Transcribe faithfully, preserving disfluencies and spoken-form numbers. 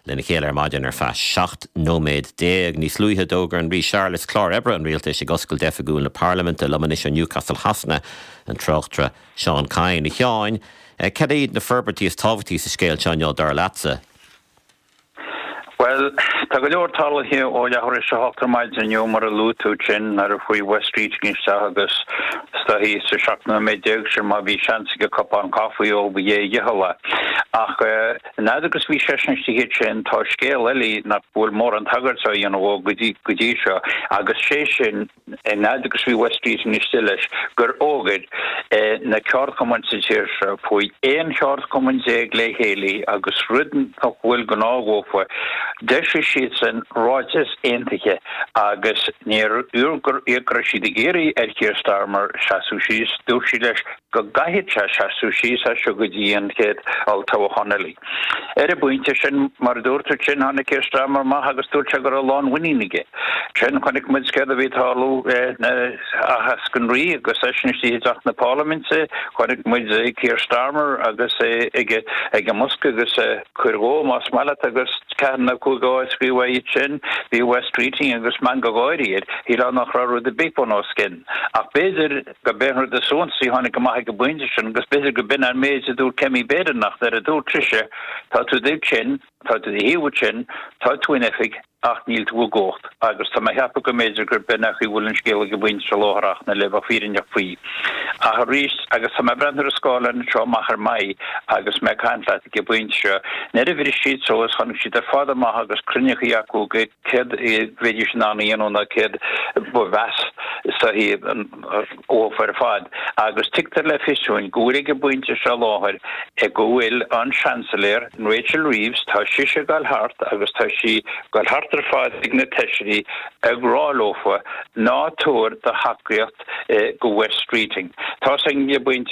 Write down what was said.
lena chéile ar maidin ar feadh seacht nóiméad déag. Níos luaithe d'fhógair an Rí Charles clár oibre an rialtais ag oscailt oifigiúil na Parlaiminte liom anois ó Newcastle Shasana an tráchtaire Seán Kyne. A Sheáin, cad iad na forbairtí is tábhachtaí sa scéal seo dar leatsa. Well, tá go leor tarlaithe ó leathuair tar éis a hocht ar maidin inniu mar a luaigh tú sin nuair a chuaigh Wes Streeting isteach agus staí sa seacht nóiméad déag sin má bhí seans aige cupán caife a ól ba é a dhícheall é. Ach fhad agus bhí seisean istigh sin tá scéal eile nach bhfuil mórán tagairt á dhéanamh dó go dtí seo agus sé sin fhad agus bhí Wes Streeting istigh leis gur fhógair na ceardchumainn sa tír seo faoi aon cheardchumann déag le chéile agus rud nach bhfuil gnách dhófa D'eisigh siadsan ráiteas aontaithe agus níor go raibh siad ag iarraidh ar Keir Starmer seasamh síos, dúirt siad leis go gcaithfidh sé seasamh síos as seo go dtí an chéad olltoghchán eile. Ar an bpointe sin mar a dúirt tú sin tháinig Keir Starmer amach agus dúirt sé go raibh lánmhuinín aige. Sin chonaic muid céard a bhí ag tarlú aitheasc an Rí agus eisean istigh i dteach na Parlaiminte, chonaic muid Keir Starmer agus é ag ag an mbosca agus cuir dhó más maith leat agus ceathair nó cúig áit scríofa iad sin, bhí Wes Streeting agus meangadh gáire air, shílfeá nach raibh rud ar bith bun os cionn. Ach b'fhéidir go b'é an rud is suntasaí a tháinig amach ag an bpointe sin agus b'fhéidir go b'in an méid a dúirt Kemi Badenoch nuair a dúirt sise, tá tú istigh ansin, tá tú taobh ansin, tá tú in oifig, ach níl tú i gcumhacht. Agus tá mé ag ceapadh go mb'fhéidir gur b'in an chaoi a bhfuil an scéal ag an bpointe seo láthair ach na le bheith fírinneach faoi. Ach arís, agus tá mé ag breathnú ar an scáileán anseo amach ar m'aghaidh agus mé ag caint leat ag an bpointe seo, nuair a bhris siad suas, tháinig siad ar fad amach agus cruinniú acu go céard a bheidís in ann a dhéanamh nó céard ba mheas dófa ar fad. Agus tugtar le fios dúinn go bhfuil ag an bpointe seo láthair go bhfuil an Seansailéir Rachel Reeves, tá sise ag dul thart agus tá sí ag dul thart ar fad ag na feisirí ag rá leofa ná tabhair do thacaíocht go Wes Streeting. Tá an bpointe